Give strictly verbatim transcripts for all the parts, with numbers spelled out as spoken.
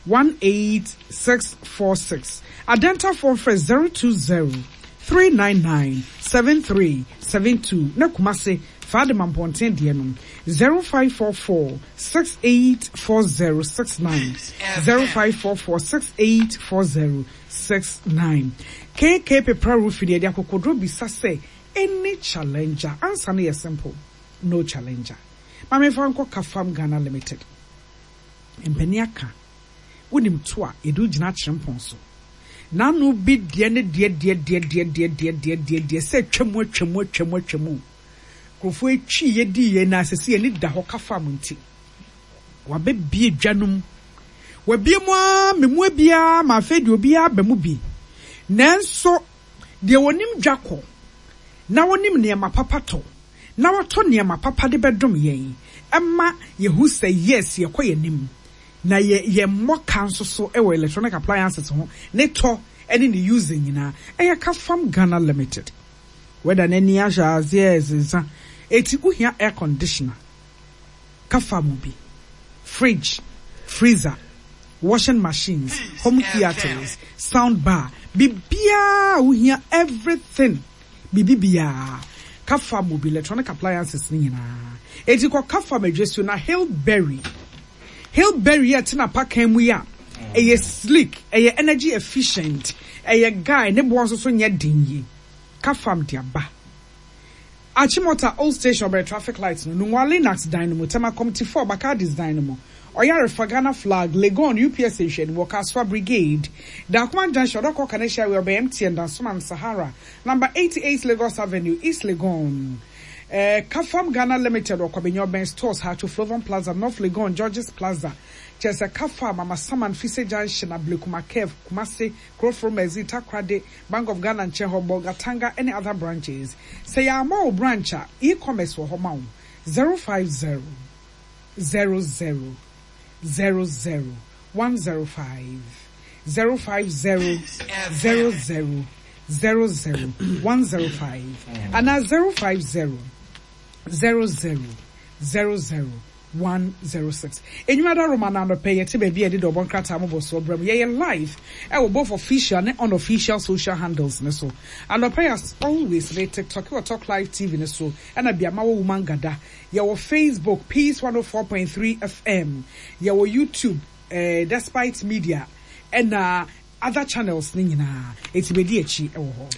one eight six four six. Adentafoɔ mfrɛ zero two zero three nine nine seven three seven two na Kumase Fadema Mpɔnten deɛ no zero five four four six eight four zero six nine zero five four four six eight four zero six nine. K K Pepra Roofing deɛ, de akokoduro bisa sɛ any challenger? Answer no yɛ simple, no challenger. Maame fa nkɔ Kafam Ghana Limited. Mpanin aka wonim to a yɛde wogyina akyerɛ so n'ano bi deɛ ne deɛ deɛ deɛ deɛ deɛ deɛ deɛ deɛ deɛ sɛ atwamu atwamu atwamu atwamu nkurɔfoɔ etwi yɛ di yɛ na asese yɛ ni da hɔ. Kafam nti wabɛbie dwa no mu, wabie mu aa memu biara ma afei deɛ obiara aba mu bi, nanso deɛ wɔnim dwa kɔ na wɔnim nneɛma papa tɔ na wɔtɔ nneɛma papa de bɛdom yɛn ɛma yɛhu sɛ yes, yɛkɔ yɛn anim na yɛ yɛ mmɔ ka nso so ɛwɔ electronic appliances ho ne tɔ ɛne ne using nyinaa ɛyɛ Kafam Ghana Limited. Wɛda n'ani ahyɛ aseɛ ɛsensa eti wohia air conditioner, Kafam bi, fridge, freezer, washing machines, home theatres, sound bar, biribiara wohia, everything, biribiara Kafam bi, electronic appliances ne nyinaa. Eti kɔ Kafam adwasu na Hillberry Hillberry yɛ tena pakan mu yi a ɛyɛ sleek, ɛyɛ energy efficient, ɛyɛ guy ne boɔ nso so nyɛ den yi. Kafam de aba Achimota Old Station, ɔbɛrɛ traffic light no, Nungua Linax dan no mu, Tema Community four, Bakadis dan no mu, Ɔyarefa Ghana Flag, Legon U P S nhwɛ no mu, Kasoa Brigade, Dakuman Junction, Ɔdɔkɔ Kaneshi Highway, ɔbɛn M T N, Dansoman Sahara, number eighty-eight Lagos Avenue, East Legon. uh, Kafam Ghana Limited, ɔkɔbɛnya ɔbɛn Stores, Haatso Flovon Plaza, North Legon, Georges Plaza. Kyerɛ sɛ Kafam, Amasaman Fise Junction, Ablekuma Curve, Kumase, Kuroforo Mɛzi, Takoradi, Bank of Ghana nkyɛn hɔ, Bolgatanga ne other branches. Sɛ yɛama wo branch a, e-commerce wɔ hɔ ma wo. zero five zero zero zero zero zero one zero five, zero five zero zero zero zero zero one zero five anaa zero five zero zero zero zero zero one zero six. Enyuma da Roma na anɔpɛ yɛte baabi a yɛde dɔbɔ nkrataa mobɔ soɔ brɛ mu. Yɛyɛ live ɛwɔ both official ne unofficial social handles ne so anɔpɛ yɛ. As always ne TikTok wɔ Talk Live T V ne so, ɛna biama wɔ Woman Gada. Yɛwɔ Facebook, Peace one oh four point three F M. Yɛwɔ YouTube, eh, Despite Media, ɛna other channels ne nyinaa. Eti bedi akyi ɛwɔ hɔ.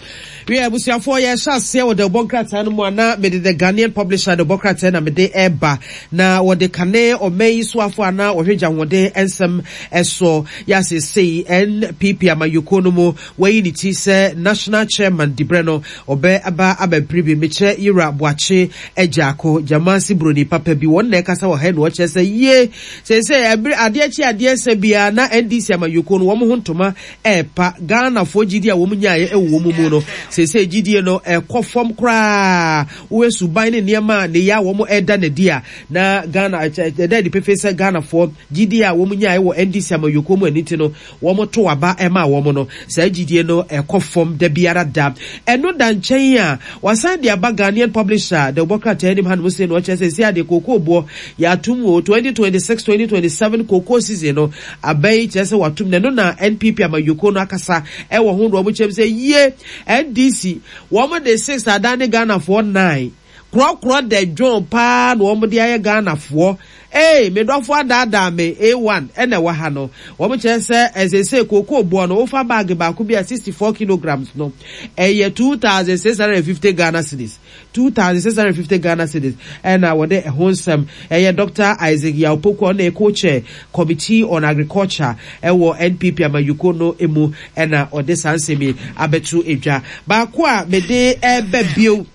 Wie abusuafoɔ, yɛhyɛ aseɛ wɔ dɛbɔ nkrataa no mu a na mede The Ghanaian Publisher dɛbɔ krataa na mede ɛreba, na wɔde kane ɔman yi soafo a na wɔhwɛ gya ahoɔden nsɛm ɛsoɔ yɛasesei N P P amayɔkuo no mu, wɔayi ne ti sɛ national chairman dibrɛ no ɔbɛ aba abɛmpere bi. Mekyerɛ Yira Boakye Agyarko Gyamase Buroni papa bi. Wɔn na ɛkasa wɔ ha na wɔkyerɛ sɛ yie sɛsɛ ɛbere adeɛ kye adeɛ sɛ biara na N D C amayɔkuo no wɔn ho ntoma ɛɛpa. Ghanafoɔ gyidie a wɔn nyaeɛ ɛwɔ wɔn mu no, sɛsɛ gyidie no ɛkɔ fam koraa. Wɔyɛ suban ne nneɛma a ne yɛ a wɔn ɛda n'adi a na Ghana ɛda adi pefe sɛ Ghanafoɔ gyidie a wɔn nyaeɛ wɔ N D C amayɔkuo mu ani ti no wɔn to aba ɛma wɔn no, saa gyidie no ɛkɔ fam da biara da. Ɛno da nkyɛn a wasan de aba Ghanaian Publisher de wɔbɔ krataa anim hanom sɛ no ɔkyerɛ sɛ si adeɛ kookoo boɔ yɛatom wɔ twenty twenty-six twenty twenty-seven kookoo season no abɛyi, kyerɛ sɛ watom na ɛno na N P P amayɔkuo no akasa ɛwɔ ho na wɔn kyerɛ sɛ yie N D C wɔn de six adan ne Ghanafoɔ nine korɔkorɔ da dwon paa na wɔn de ayɛ Ghanafoɔ. Ee, me dɔfo adaadaa me A one ɛna ɛwɔ ha no. Wɔn kyerɛ sɛ ɛsese kookoo boɔ no, wofa bag baako bi a sixty four kilograms no, ɛyɛ two thousand six hundred and fifty Ghana cedis, two thousand six hundred and fifty Ghana cedis. Ɛna wɔde ɛho nsɛm ɛyɛ Doctor Isaac Yaw Opoku, ɔna co-chair Committee on Agriculture ɛwɔ N P P amayuko no emu, ɛna ɔde saa nsɛm yi abɛto edwa. Baako a mede ɛbɛ bio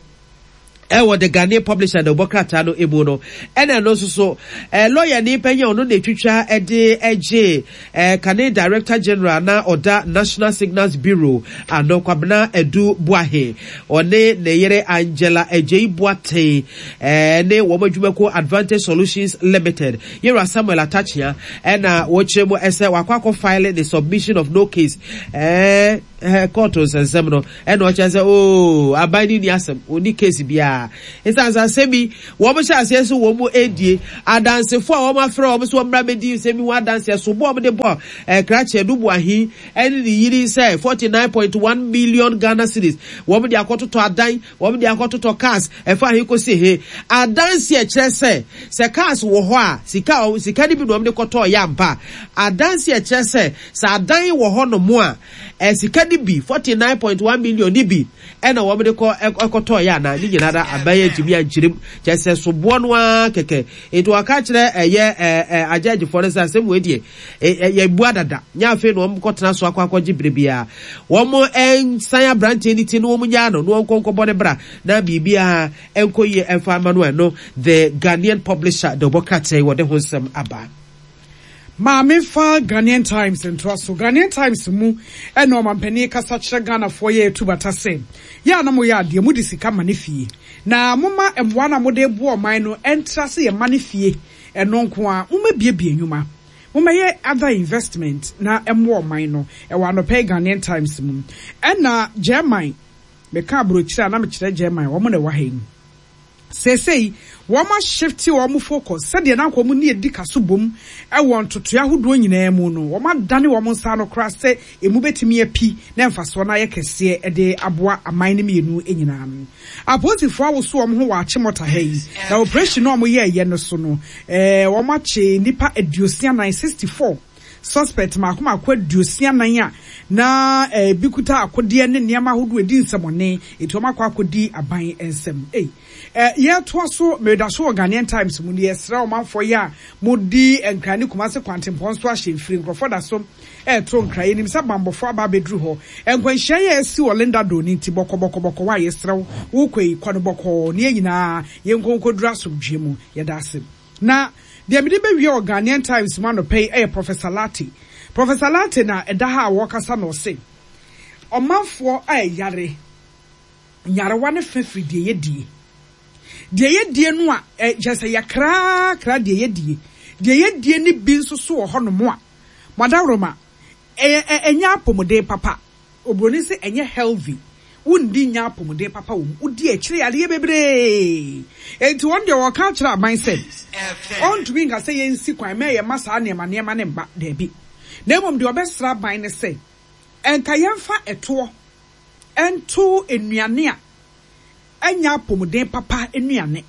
ɛwɔ The Ghanaian Publisher na ɔbɔ krataa no emu no, ɛna ɛno nso so ɛɛ lɔya ni panyin a ɔno na etwitwa ɛde ɛgye ɛɛ kane Director General na ɔda National Signals Bureau ano, Kwabena Edu Buahe, ɔne ne yere Angela Agyei Boateng ɛɛ ne wɔn adwumako Advantage Solutions Limited, yɛwura Samuel Atakyea, ɛna wɔkyerɛ mu ɛsɛ wakɔ akɔ file ne submission of no case ɛɛ ɛɛ kɔɔto nsɛnsɛm no ɛna ɔkyerɛ sɛ ooo aban ne ni asɛm oni case biara esan sɛ asɛm yi wɔn hyɛ aseɛ so wɔn mu edie adansefo a wɔn afrɛ wɔn so wɔn mmra bɛdi nsɛm yi ho adanseɛ so bɔ wɔn de bɔ ɛɛ krakye Adu Boahen ɛne ne yiri sɛ forty nine point one million Ghana cedis wɔn de akɔtotɔ adan, wɔn de akɔtotɔ cars ɛfa he kɔsi he. Adanseɛ kyerɛ sɛ sɛ cars wɔ hɔ a sika sika no bi na wɔn de kɔtɔɔ yɛ ampa. Adanseɛ kyerɛ sɛ sɛ adan wɔ hɔ nom a ɛ sika no bi forty nine point one million ni bi ɛna wɔn de kɔ ɛkɔtɔɔ yɛ ana ne nyinaa da aban yɛ ntumi ankyerɛm kyerɛ sɛ soboɔ no ara kɛkɛ. Nti wɔka kyerɛ ɛyɛ ɛɛ ɛ agyɛgyefoɔ no sɛ asɛm wei deɛ yɛ bu adada nyɛ afei na wɔn kɔtena so akɔ akɔgye bere biara wɔn nsan aberanteɛ ne ti na wɔn nyaa no na wɔn nkɔ nkɔbɔ ne bra na biribiara nkɔ yie ɛmfa ama no. Ɛno The Ghanaian Publisher de ɔbɔ krataa yi wɔde ho nsɛm aba. Maame fa Ghanaian Times ntoa so. Ghanaian Times mu ɛna ɔmampanin kasa kyerɛ Ghanafoɔ yɛ etu bata sɛ yɛ a na moyɛ adeɛ mode sika ma ne fie na moma mmoa no a mode boa ɔman no ɛntra sɛ yɛma ne fie ɛno nko a moma biebie nnwuma, momɛyɛ other investment na ɛmmoa ɔman no. Ɛwɔ anɔpɛ Ghanaian Times mu. Ɛna German, meka aburokyire a na mekyerɛ German, wɔn na ɛwɔ ha yi. Seesei wɔn ashifte wɔn focus sɛdeɛ na wɔn ne edi kaso bom ɛwɔ ntotoe ahodoɔ nyinaa mu no, wɔn adane wɔn nsa ano koraa sɛ emu bɛtumi api na mfasoɔ no ayɛ kɛseɛ ɛde aboa aman no mmienu nyinaa no. Apolisifoɔ awoso wɔn ho wɔ Achimota ha yi na operation no a wɔyɛɛyɛ no so no, ɛɛ wɔn akye nipa aduosia nan, sixty four suspect mako mako aduosia nan a na ebi kuta akodeɛ ne nneɛma ahodoɔ edi nsɛmɔne etu wɔn akɔ akɔdi aban nsɛm. Ei, ɛ yɛtoa so, mɛda so wɔ Ghanaian Times mu no. Yɛsrɛ ɔmanfoɔ yi a modi Nkran ne Kumase kwantempɔn so ahyɛ mfiri, nkurɔfoɔ da so ɛɛto Nkran. Yɛnim sɛ bambɔfoɔ aba abɛduru hɔ. Nkwanhyia yɛ asi wɔ Linda Do ne nti bɔkɔbɔkɔbɔkɔ wa yɛsrɛ wo, wokɔ yi kɔ no bɔkɔɔ ne yɛn nyinaa yɛnkɔ nkɔduru asomdwe mu. Yɛda ase. Na deɛ mede bɛwie wɔ Ghanaian Times mu anɔpɛ yi ɛyɛ Professor Lartey. Professor Lartey na ɛda ha a wɔrekasa na ɔse ɔmanfoɔ a ɛyare nyarewa ne fɛ firi deɛ yɛdie deɛ yɛdie no a ɛ kyerɛ sɛ yɛkrakra deɛ yɛdie deɛ yɛdie ne bi nso so wɔ hɔnom a madaworoma ɛyɛ ɛnyɛ apɔmuden papa. Oburoni sɛ ɛnyɛ healthy, wundi nya apɔmuden papa wɔ mu, wodi akyire yadeɛ bebree. Enti wɔn deɛ wɔka kyerɛ aban sɛ ɔntumi nka sɛ yɛnsi kwan mɛ yɛ ma saa nneɛma nneɛma ne mba daabi, na mmom deɛ ɔbɛsra aban ne sɛ ɛnka yɛmfa ɛtoɔ ɛnto nnuane a ɛnya apɔmuden papa, nnuane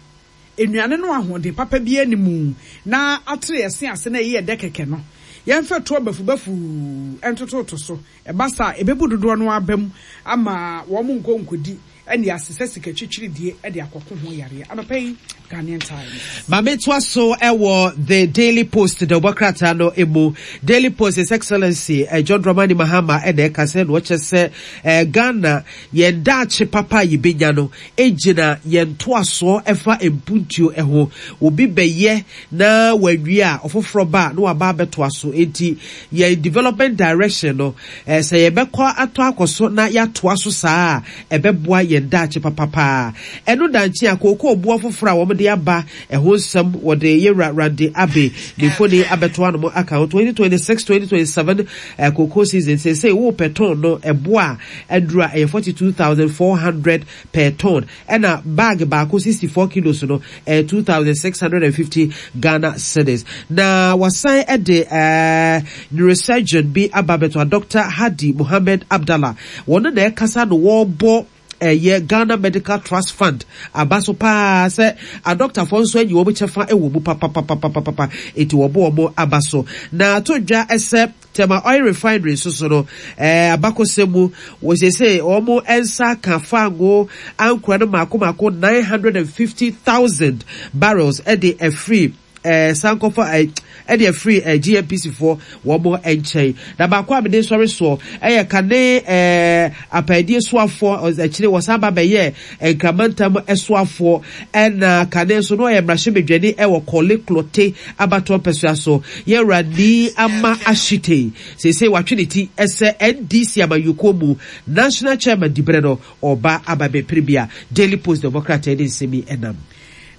nnuane no ahoɔden papa bi anim na atere ɛse ase na ɛyɛ ɛdɛ kɛkɛ no, yɛmfa toɔ bafubafu ɛntototo so. Ɛba saa ɛbɛbu dodoɔ no aba mu ama wɔn nkɔ nkɔdi ɛne asesɛ sika twitwiridie ɛde akɔko ho yareɛ. Anɔpɛ yi Ghanaian Times. Maame toa so ɛwɔ The Daily Post de ɔbɔ krataa no emu. Daily Post, His Excellency eh, John Dramani Mahama ɛna ɛka sɛ na ɔkyɛ sɛ eh, Ghana yɛn daakye papa a yɛbɛnya no egyina yɛn ntoasoɔ ɛfa mpuntuo ɛho. Obi bɛyɛ na wawie a, ɔfoforɔ ba a na waba abɛtoa so. Enti yɛn development direction no, eh, sɛ yɛbɛkɔ atɔ akɔ so na yɛatoa so saa a, ɛbɛboa yɛn daakye papapaa. Ɛno dankye a kookoo boɔ foforɔ a wɔde aba ɛho nsɛm wɔde yɛwura Randy Abbey ne mfoni abɛto anom aka ho. twenty twenty-six twenty twenty-seven eh, cocoa season, seesei wopɛ ton no ɛboa a aduru a ɛyɛ forty-two thousand four hundred per ton, ɛna bag baako sixty-four kilos no ɛyɛ two thousand six hundred fifty Ghana cedis. Na wasan ɛde ɛɛ neurosurgeon bi aba abɛto a Doctor Hadi Mohammed Abdallah, wɔn na ɛkasa no wɔrebɔ ɛyɛ Ghana Medical Trust Fund aba so paa sɛ adɔktafoɔ nso anyi wɔn kyɛfa wɔ mu papapapapapa, eti wɔbɔ wɔn aba so. Na ato dwa ɛsɛ Tema Oil Refinery nso so no, ɛɛ abakɔsɛm mu wɔsiesie wɔn nsa ka fango ankora no mako mako nine hundred and fifty thousand barrels ɛde ɛfiri ɛɛ sankɔfa ɛɛ ɛde afiri ɛɛ G N P C foɔ wɔn nkyɛn. Na baako a mede sɔre soɔ ɛyɛ kane ɛɛ apaadie soafoɔ, akyire wɔsan ba bɛyɛ nkramantam soafoɔ, ɛna kane nso no ɔyɛ mmarahyɛbadwani ɛwɔ Korle Klottey abatoɔ mpɛsua so, yɛwura Nii Amaa Ashitey, seesei watwe ne ti ɛsɛ N D C amanyɔkuo mu national chairman diberɛ no ɔba aba bɛpere bi a Daily Post Democrat ɛde nsɛm yi ɛnam.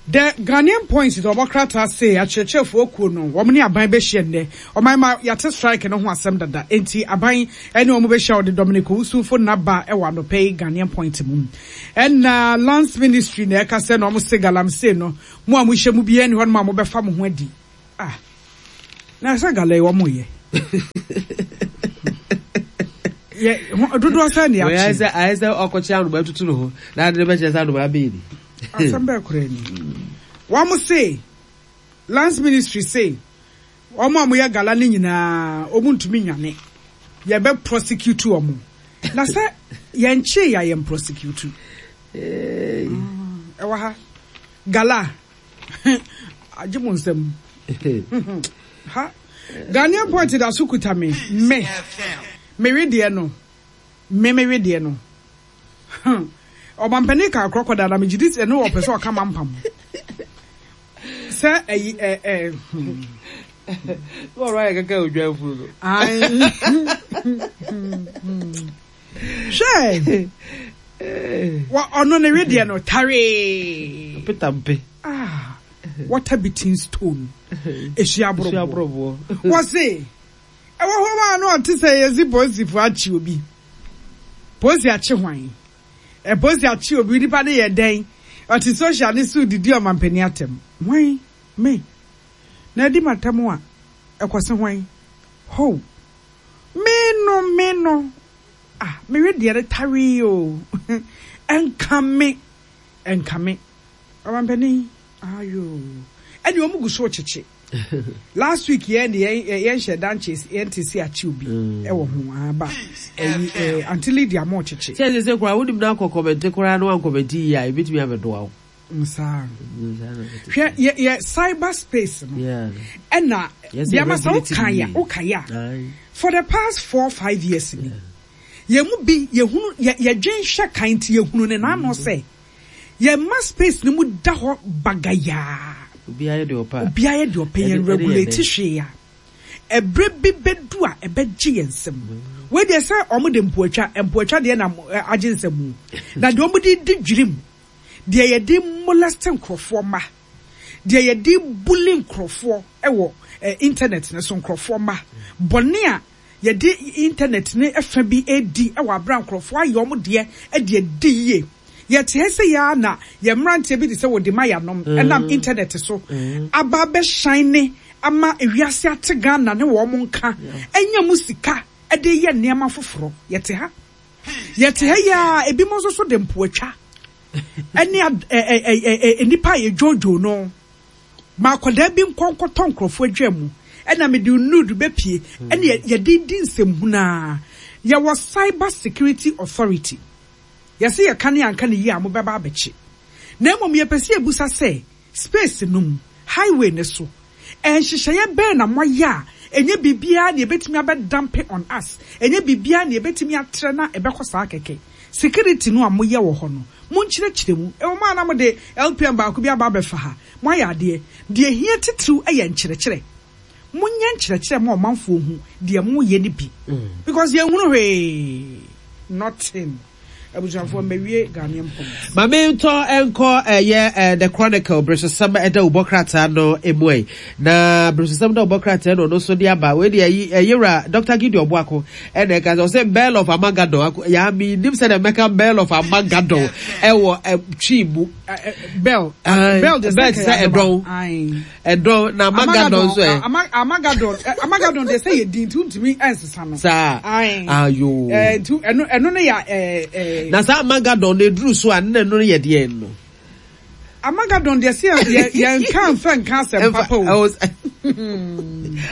The Ghanaian Point de ɔbɔ krataa se akyerɛkyerɛfoɔ kuo no wɔn ne aban bɛhyia nnɛ. Ɔman ma yɛate strike no ho asɛm dada, enti aban ne wɔn bɛhyia. Ɔde Dominic Owusu naba ɛwɔ anɔpɛ yi Ghanaian Point mu. Ɛna Lands Ministry na ɛka sɛ na wɔn se galamsey no mo a mohyɛ mu biara ni hɔ nom a mobɛfa mo ho adi. Ah, na sɛ gala yi wɔn yɛ yɛ dodoɔ sɛ ne Wɔyɛ akyi sɛ ayɛ sɛ ɔkɔkyɛ anoma atutu ne ho na ade ne bɛkyerɛ sɛ anoma abɛyi ni. Asɛm bɛɛ koraa ni. Wɔn se Lands Ministry se wɔn a wɔyɛ gala ne nyinaa wɔn ntumi nyane, yɛbɛ prosecute wɔn, na sɛ yɛn kye yɛ yɛn prosecute. Ɛwɔ ha gala agye mo nsam ha. Ghanaian Point da so kuta me me mewe deɛ no, me mewe deɛ no. Ɔmampanin ka crocodile na megye di sɛ ne wɔpɛ sɛ ɔka mampam sɛ ɛyi ɛ ɛ hmm. Wɔrɔ ayɛ kaka odwan funu no. Ai. Hwɛ, wɔ ɔno ne wedeɛ no taree. Peter mpe. Ah, water beating stone ehyia Ehyia aborɔboɔ. Aborɔboɔ. Wɔse ɛwɔ hɔ ma no ɔte sɛ yɛsi polisifoɔ akye obi, polisi akye hwan? Ɛ polisi akye obi, nipa de yɛ dɛn? Ɔte social ne so didi ɔmampanin atɛm. Hwan me na adi matam a ɛkɔse hwan ho? Me no, me no, ah, mewe deɛ no tawee o. Ɛnka me, ɛnka me ɔmampanin ayo. Ɛne wɔn gu so kyekye. Last week yɛn de yɛn yɛn hyɛ dan kye yɛn te si akyi obi ɛwɔ ho aba ɛyi ɛɛ Aunty Lydia mo kyekye. Sɛ sɛ sɛ koraa wonim na akɔ comment koraa na wancomment yie a, ebɛtumi abɛdoa wo. Nsaa hwɛ yɛ yɛ cyber space no. Yeah. Ɛna Yɛsɛ deɛ ama sɛ regulate woka yie. ya woka ya Aye. for the past four five years ni yɛn mu bi yɛhunu yɛ yɛdwen hwɛ kan nti yɛhunu ne n'ano sɛ yɛn ma space no mu da hɔ bagayaa. Obiara yɛ deɛ ɔpɛ a. Obiara yɛ deɛ ɔpɛ yɛn Ɛde- ɛde yɛ regulate dɛn? hwee a ɛbrɛ bi bɛdu a ɛbɛgye yɛn nsam. Wei deɛ sɛ ɔmo de mpoatwa mpoatwa deɛ nam ɛ, agye nsam o, na deɛ ɔmo de di dwirim, deɛ yɛde molest nkurɔfoɔ ma, deɛ yɛde bully nkurɔfoɔ ɛwɔ ɛ internet ne so, nkurɔfoɔ ma bɔne a yɛde internet ne ɛfa bi edi ɛwɔ abira nkurɔfoɔ ayɛ ɔmo deɛ ɛde adi yie. Yɛte ha sɛ yɛa na yɛ mmeranteɛ bi te sɛ wɔde ma yɛanom ɛnam internet so aba abɛhyɛn ne ama ewiase ate Ghana ne wɔn nka ɛnya mu sika ɛde yɛ nneɛma foforɔ. Yɛte ha, yɛte ha yi a ebi mo nso so de mpoatwa ɛne ad ɛ ɛ ɛ ɛ nipa a yɛdwoodwoo no ma akwadaa bi nkɔ nkɔtɔ nkurɔfoɔ adwa mu ɛna mede nude bɛpie ɛne yɛ- yɛde di nsɛmhunaa. Yɛwɔ Cyber Security Authority, yɛsɛ yɛka ne anka ne yie a mobɛba abɛkye, na mmom yɛpɛ sɛ yɛbusa sɛ space no mu highway ne so ɛnhyehyɛeɛ bɛn na moayɛ a ɛnyɛ biribiara na yɛbɛtumi abɛdump on us, ɛnyɛ biribiara na yɛbɛtumi atrɛ na ɛbɛkɔ saa kɛkɛ. Security no a moyɛ wɔ hɔ no, monkyerɛkyerɛ mu. Ɛwɔ mu a na mode L P M baako bi aba abɛfa ha, moayɛ adeɛ. Deɛ hia titiriw yɛ nkyerɛkyerɛ. Monyɛ nkyerɛkyerɛ ma ɔmanfoɔ hu deɛ moyɛ no bi, because yɛnhunu hwee, nothing. Abusuafoɔ, mbɛwie Ghanaian Point. Maame ntɔ nkɔ ɛyɛ ɛ The Chronicle beresosɛm ɛda wobɔ krataa no emu ɛ na beresosɛm da wobɔ krataa no ɔno nso de aba. Wei deɛ ɛyi ɛyɛwura Doctor Gideon Boako ɛna ɛka sɛ ɔsɛ Bell of Armageddon ako yaa mi nim sɛ na mɛka Bell of Armageddon ɛwɔ ɛ Twi mu. Ɛ, ɛ, bell. Aye. Bell de Bell te sɛ ɛdɔn. Aye. Ɛdɔn na Armageddon nso ɛ. Ama- Armageddon ɛ, Armageddon de sɛ yɛ din nti wontumi ɛnsesa no. Saa. Aye. Ayo. Ɛ, nti ɛno ɛno no yɛ ɛ ɛ Na saa Armageddon no eduru so a ne na ɛno no yɛ deɛ no. Armageddon deɛ sɛ yɛ yɛ yɛnka nfɛ nka asɛm papa o.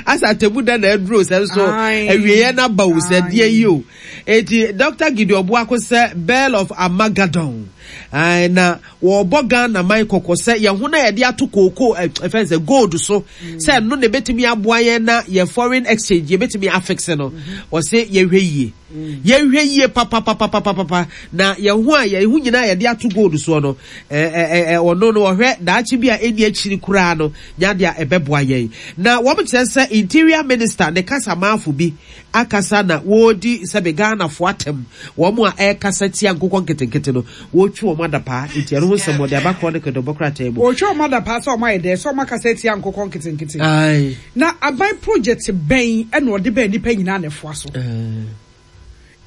Asa atemu da na aduro sɛ nso Aye. awieɛ na ba wo sɛ Aye. deɛ yi o. Eti Doctor Gideon Boako sɛ Bell of Armageddon. Aye, na wɔbɔ Ghana man kɔkɔ sɛ yɛn ho na yɛde ato kooko ɛ ɛfɛn sɛ gold so sɛ ɛno na ebetumi aboa yɛn na yɛ foreign exchange yɛbɛtumi afix no. Wɔsɛ yɛhwɛ yie, yɛhwɛ yie papapapapapa na yɛn ho a yɛn ho nyinaa yɛde ato gold soɔ no, ɛɛ ɛɛ ɔno no ɔhwɛ daakye bi a ɛni akyiri koraa no nyadeɛ a ɛbɛboa yɛn. Na wɔn kyerɛ sɛ Interior Minister ne kasamafo bi akasa na wɔredi sɛbe Ghanafoɔ atɛm. Wɔn a ɛrekasa tia nkokɔ nketenkete no, wɔretwe wɔn adapaa. Nti ɛno ho nsɛm wɔde aba Chronicle de bɔ krataa mu. Wɔretwe wɔn adapaa sɛ wɔn ayɛ dɛ, sɛ wɔn akasa atia nkokɔ nketenkete. Aye. Na aban project bɛn ɛna ɔde bɛn nipa nyinaa na ɛfoa so?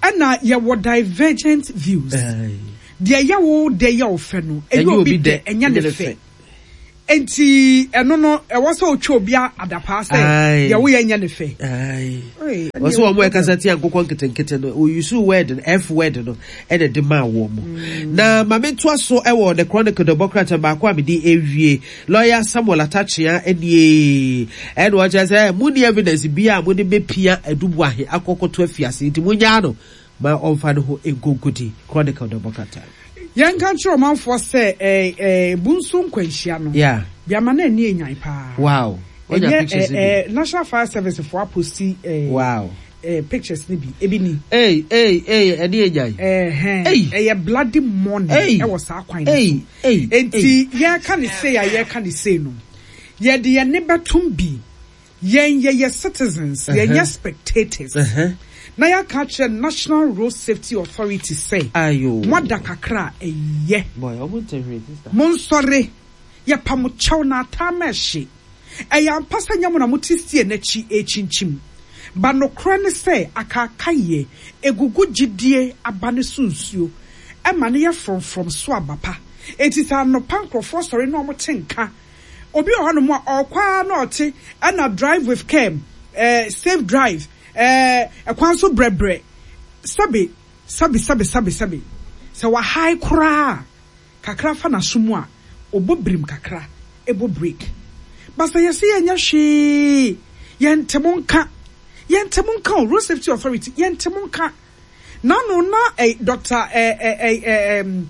Ɛna yɛwɔ divergent views. Deɛ ɛyɛ wo dɛ yɛ wo fɛ no, ɛnyɛ obi dɛ ɛnyɛ ne fɛ. Enti ɛno no, ɛwɔ sɛ otwa obi adapaa sɛ deɛ woyɛ nyɛ ne fɛ. Wɔsɛ wɔn a ɛkasa tia nkokɔ nketenkete no, wɔyusu word no, F word no, ɛna de maa wɔn mu. Na maame ntoa so ɛwɔ The Chronicle de bɔ krataa baako a mede ewie. Lawyer Samuel Atta Akyea nie, ɛna ɔkyerɛ sɛ mo ni evidence bi a mo de bepia Adu Boahen akɔkɔto afiase, nti mo nyaa no ma ɔmfa ne ho nkonkodi. Chronicle de bɔ krataa. Yɛnka nkyerɛ ɔmanfoɔ sɛ ɛɛ ɛɛ Bunso nkwanhyia no, Yeah. biama na ani enyan paa. Wow. Onya Ɛnyɛ pictures ɛɛ bi. ɛɛ National Fire Service foɔ apost ɛɛ Wow. ɛɛ pictures ne bi, ebi ni. Hey, hey, hey, ɛni enyan. Ɛhɛn. Hey. Ɛyɛ bloody morning Hey. ɛwɔ saa kwan no Hey, so. hey, Enti yɛka ne sei a yɛka ne sei no, yɛde yɛn ne bɛtum bi. Yɛn yɛyɛ citizens, yɛnyɛ spectators. Uh-huh. Na yɛaka kyerɛ National Road Safety Authority sɛ, Ayo. moada kakra a ɛyɛ. Boy, ɔmo ntɛ hwee, sister. Monsɔre, yɛpa mo kyɛw na ataa ma ɛhye. Ɛyɛ ampa sɛ nyɛ mo na mote sie n'akyi ɛkyinkyim. Ba nokorɛ ne sɛ akaakayɛ egugu gyidie aba ne so nsuo ɛma ne yɛ frɔmfrɔm so aba pa. Enti sɛ anɔpa nkurɔfoɔ sɔre na ɔmo te nka, obi wɔ hɔnom a ɔkɔ ara na ɔte ɛna drive with care, ɛɛ safe drive, ɛɛ ɛkwan so brɛbrɛ, sɛbe sɛbe sɛbe sɛbe sɛbe sɛ wahae koraa kakra fa n'aso mu a, ɔbɔ birim kakra, ɛbɔ break. Basa yɛsɛ yɛnyɛ hwee, yɛnte mo nka, yɛnte mo nka o. Road Safety Authority, yɛnte mo nka. Nano na ɛ Doctor ɛ ɛ ɛ ɛ ɛm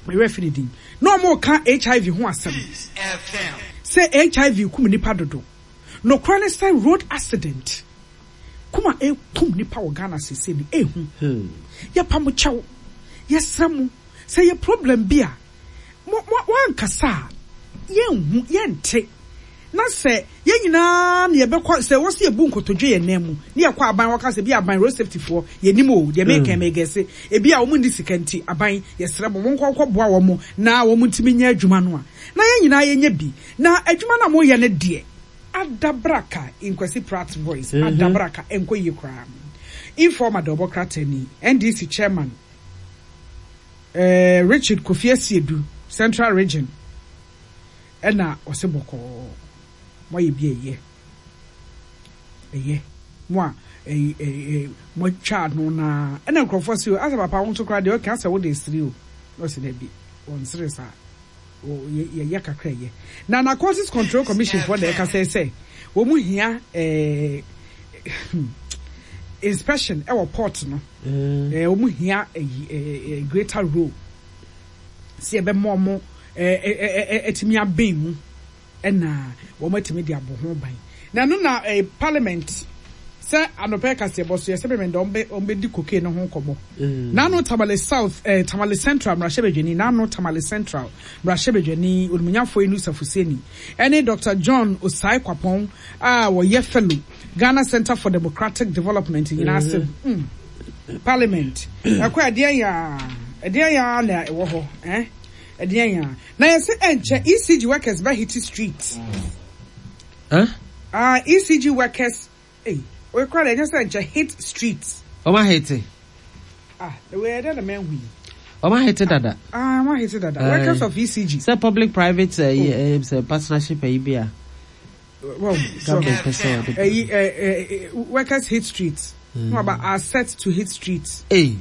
mewɛ fi ne din na ɔmo ka H I V ho asɛm sɛ H I V kum nipa dodo. Nokora ne sɛ road accident kum a ɛkum nipa wɔ Ghana sese ni ehu. Hmm. Yɛpa mo kyɛw, yɛsrɛ mo sɛ yɛ problem bi a mo mo wankasa a yɛnhu yɛnte, na sɛ yɛn nyinaa na yɛbɛkɔ sɛ wɔsi ebu nkotodwe yɛn nan mu ne yɛkɔ aban wɔka sɛ bi aban road safety foɔ yɛnim o, deɛ meka mɛgɛse ebi a wɔn ndi sika nti aban yɛsrɛ mo, mo nkɔ nkɔ boa wɔn na wɔn ntumi nyɛ adwuma no a na yɛn nyinaa yɛnyɛ bi na adwuma no a moyɛ no deɛ adabraka. Nkwasi Pratt voice adabraka nkɔ yie koraa. Informer de ɔbɔ krataa ni, N D C chairman eh, Richard Kofi Asiedu, Central Region, ɛna ɔsɛ bɔkɔɔ moayɛ bi a ɛyɛ ɛyɛ mo a ɛyi ɛyi moatwa ano na ɛna nkurɔfoɔ sɛ asɛ papa wo nso koraa deɛ ɔka asɛ wode sere o, na ɔsɛ dɛbi, wɔnsere saa. Yɛyɛ kakra yɛ na Narcotics Control Commission foɔ na ɛka sɛ sɛ wɔn mu hia ɛɛ inspection ɛwɔ port no, ɛɛ wɔn hia ɛyi ɛɛ greater role sɛ yɛbɛma wɔn ɛɛ ɛɛ ɛtumi abɛn mu ɛna wɔn atumi de abɔ ho ban. Na ɛno na ɛɛ parliament sɛ anɔpɛ kaseɛbɔ so yɛsɛ bɛmɛ dɛ wɔn bɛ wɔn bɛdi cocaine no ho nkɔmɔ. Nano Tamale South, ɛɛ Tamale Central mmarahyɛbadwani, nano Tamale Central mmarahyɛbadwani Onimonyafo Inusah Fuseini ɛne Doctor John Osae Kwapɔn a wɔyɛ fellow, Ghana Center for Democratic Development nyinaa sɛ mm parliament ɛkɔ ɛdeɛ yaa ɛdeɛ yaa na ɛwɔ hɔ ɛn ɛdeɛ yaa na yɛsɛ ɛnkyɛ E C G workers bɛ hit street. Huh? Ah, E C G workers ɛy oyɛ deɛ ɛnyɛ sɛ nkyɛ hit street. Ɔmo ahete. Ah, ɛwɛ ɛdɛ na mɛnhu yi. Ɔmo ahete dada. Ah, wɔn ahete dada. Aye. Workers of E C G. Sɛ public private ɛyi ɛɛ sɛ partnership ɛyi bi a well so government pɛ sɛ ɔde. Ɛyi ɛ ɛ workers hit street no aba are set to hit street. Ee.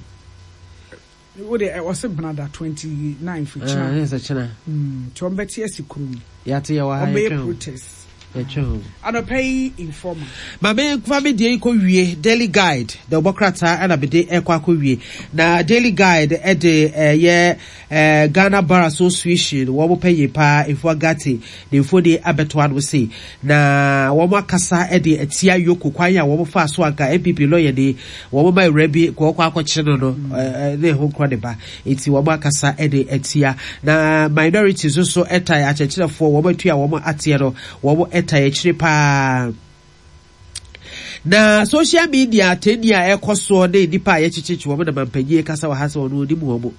Wo de ɔsɛ benada twenty nine fi ɛɛ kyina. Sɛ kyena. Nti wɔn bɛte asi kurom. Yate yɛ wɔ ha. Wɔn bɛyɛ yɛtwɛn o. protest. Yɛtwe ho. Anɔpa yi Informer. Ma me fa me deɛ yi kɔ wie Daily Guide deɛ ɔbɔ krataa ɛna mede ɛkɔ akɔ wie na Daily Guide ɛde ɛyɛ ɛɛ Ghana Bar Association wɔn pɛ yie paa Efua Gate ne mfoni abɛto ano se na wɔn akasa ɛde atia Yoko kwan a wɔn fa so anka N P P lawyer ni wɔn ma awura bi kɔ ɔkɔ akɔkye no no ɛɛ ne ho nkorɔ ne ba eti wɔn akasa ɛde atia na minority nso so ɛtae akyerɛkyerɛfoɔ wɔn atua wɔn ateɛ no wɔn ɛtae akyire paa. Na social media atɛnni a ɛkɔ soɔ ne nipa a yɛkyekyekye wɔn na mampanyin kasa wɔ ha sɛ ɔno onim wɔn,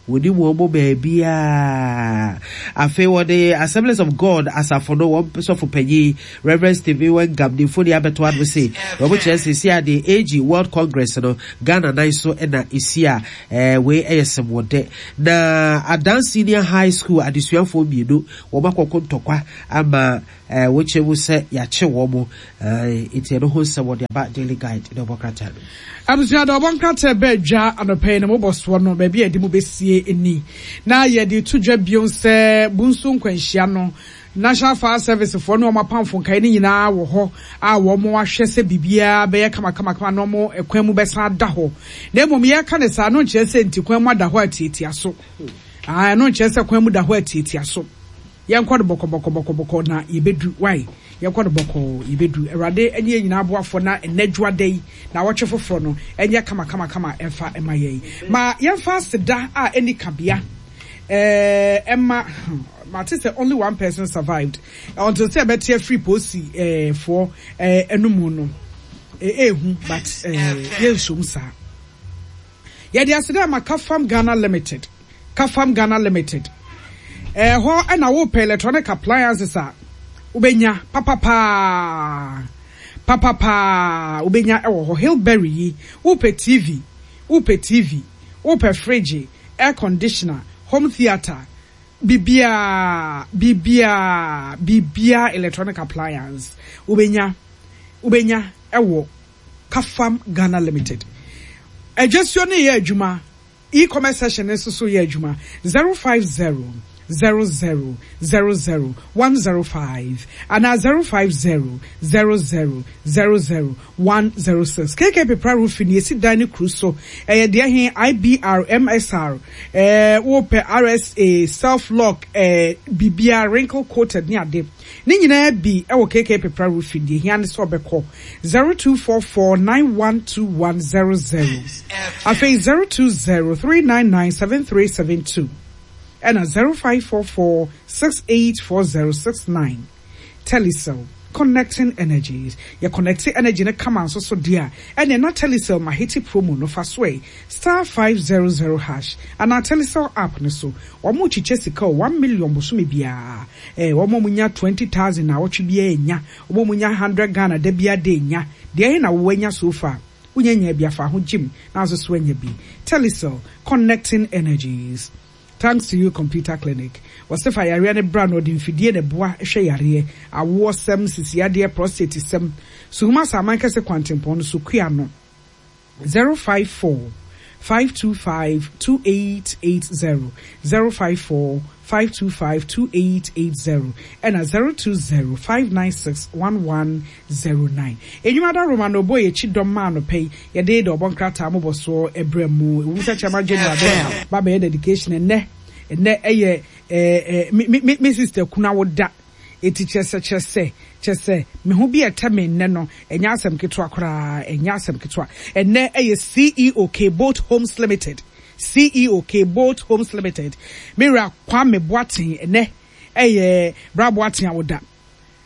wɔnim wɔn baabiaa. Afei wɔde Assemblies of God asafo no wɔn sɔfo panyin Reverend Stephen Wengam ne mfoni abɛto ano se wɔn kyerɛ sɛ si ade A G World Congress no Ghana nan so ɛna esi a ɛɛ wei ɛyɛ sɛmɔdɛ. Na Adan Senior High School adesuafoɔ mmienu wɔn akɔkɔ ntɔkwa ama ɛɛ wɔkyerɛ mu sɛ yɛakye wɔn mo ɛɛ nti ɛno ho nsɛm wɔde aba Daily Guide na ɔbɔ krataa no. Abusua, da ɔbɔ nkrataa bɛɛ dwa anɔpa yi na mobɔ soɔ no baabi a yɛde mu bɛsie ni na yɛde to dwa bio sɛ Bunso nkwanhyia no, National Fire Service foɔ ne wɔn apamfo nkae no nyinaa wɔ hɔ a wɔn ahwɛ sɛ biribiara bɛyɛ kamakamakama na wɔn kwan mu bɛsan ada hɔ. Na mmom yɛreka ne saa no nkyerɛ sɛ nti kwan mu ada hɔ atiatia so. Ɛno nkyerɛ sɛ kwan mu da hɔ atiatia so. Yɛnkɔ no bɔkɔbɔkɔbɔkɔbɔkɔ na yɛbɛdu wae. Yɛnkɔ no bɔkɔɔ, yɛbɛdu. Awurade ne yɛn nyinaa aboafoɔ na ɛnɛ dwoada yi na wɔtwe foforɔ no ɛnyɛ kamakamakama ɛmfa ɛma yɛn. Ma yɛmfa aseda a ɛni kabea ɛɛ ɛma mate sɛ only one person survived until sɛ ɛbɛte afiri polisi ɛɛ foɔ ɛɛ ɛnum no ɛɛhu, but ɛɛ yɛnsom saa. Yɛde aseda ama Kafam Ghana Limited. Kafam Ghana Limited, ɛhɔ ɛna wopɛ electronic appliances a wobɛnya papapaa papapaa, wobɛnya ɛwɔ hɔ. Hillberry yi, wopɛ T V, wopɛ T V, wopɛ fridge, air conditioner, home theatre, biribiaa biribiaa biribiaa electronic appliance wobɛnya wobɛnya ɛwɔ Kafam Ghana Limited. Adwasuo no yɛ adwuma, e-commerce session nso so yɛ adwuma. zero five zero zero zero zero zero one zero five ana zero five zero zero zero zero zero one zero six. K K Pepra Roofing yɛsi dan ne kuru so ɛyɛ deɛ he I B R M S R ɛɛ wopɛ R S A self lock, ɛɛ bibia wrinkle coated ne ade ne nyinaa bi ɛwɔ K K Pepra Roofing. Deɛ hia ne sɛ ɔbɛkɔ zero two four four nine one two one zero zero, afei zero two zero three nine nine seven three seven two ɛna zero five four four six eight four zero six nine. Telecel, connecting energies. Yɛ connecting energy ne kama nso so deɛ a ɛnna na Telecel Mahiti promo no fa so ɛ star five zero zero hash anaa Telecel app no so. Wɔn kyekyɛ sika o, one million bosome biara. ɛɛ wɔn a wɔnya twenty thousand na awɔtwe biara nya, wɔn a wɔnya hundred Ghana da biara de nya deɛ ɛyɛ na wɔwɔ anya so far. Wonya nya bi afa ho gym na nso so anya bi. Telecel, connecting energies. Thanks to You Computer Clinic, wɔsɛ fa yareɛ no bra na ɔde mfidie na ɛboa hwɛ yareɛ, awoɔ sɛm, sisiadeɛ, prostate sɛm. Suhuma Saman Kɛse kwantempɔn no so kua no zero five four five two five two eight eight zero, zero five four five two five two eight eight zero ɛna zero two zero five nine six one one zero nine. Enyuma da Roma na ɔbɔ yɛkyi dɔm maa no pɛ yi yɛde de ɔbɔ nkrataa mobɔ soɔ ɛbrɛ mu ewu sɛ Chairman General bɛ ba bɛyɛ dedication ɛnɛ. Ɛnɛ ɛyɛ ɛɛ ɛɛ mi mi mi sister kuna wo da eti kyerɛ sɛ kyerɛ sɛ kyerɛ sɛ me ho bi ɛtɛ me nnɛ no ɛnyɛ asɛm ketewa koraa, ɛnyɛ asɛm ketewa. Ɛnɛ ɛyɛ C E O K Boat Homes Limited, C E O K Boat Homes Limited, mewura Kwame Boateng. Ɛnɛ ɛyɛ Bra Boateng a woda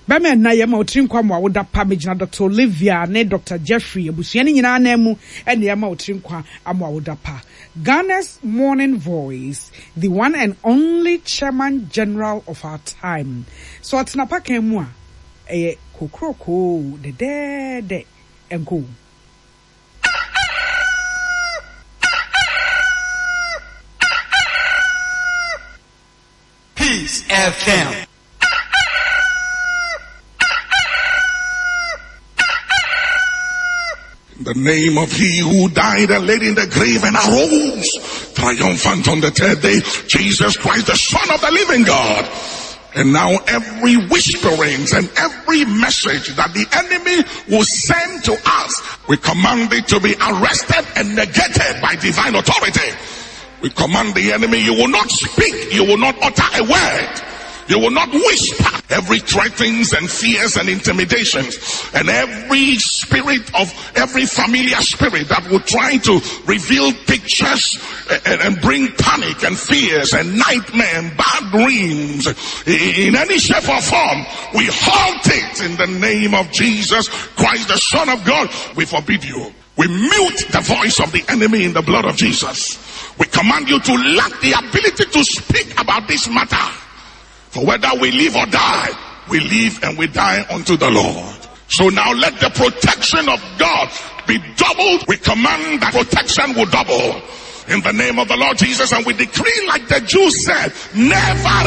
bɛma ɛna yɛ ma otiri nkwa mu a woda pa. Megyina Doctor Olivia ne Doctor Jeffrey abusua no nyinaa nan mu ɛna yɛ ma otiri nkwa ama a woda pa. Ghana's morning voice, the one and only Chairman General of our time, so ɔtena pakan mu a ɛyɛ kokrokoo dɛdɛɛdɛ ɛnko. Peace F M. In the name of he who died and laid in the grave and arose triumphant on the third day, Jesus Christ, the Son of the living God. And now every whisperings and every message that the enemy will send to us, we command it to be arrested and negated by divine authority. We command the enemy, you will not speak, you will not utter a word. You will not whisper. Every threatenings and fears and intimidations and every spirit of every familiar spirit that will try to reveal pictures and, and bring panic and fears and nightmare and bad dreams in any shape or form, we halt it in the name of Jesus Christ, the Son of God. We forbid you. We mute the voice of the enemy in the blood of Jesus. We command you to lack the ability to speak about this matter. For whether we live or die, we live and we die unto the Lord. So now let the protection of God be doubled. We command that protection will double in the name of the Lord Jesus. And we decree, like the Jews said, never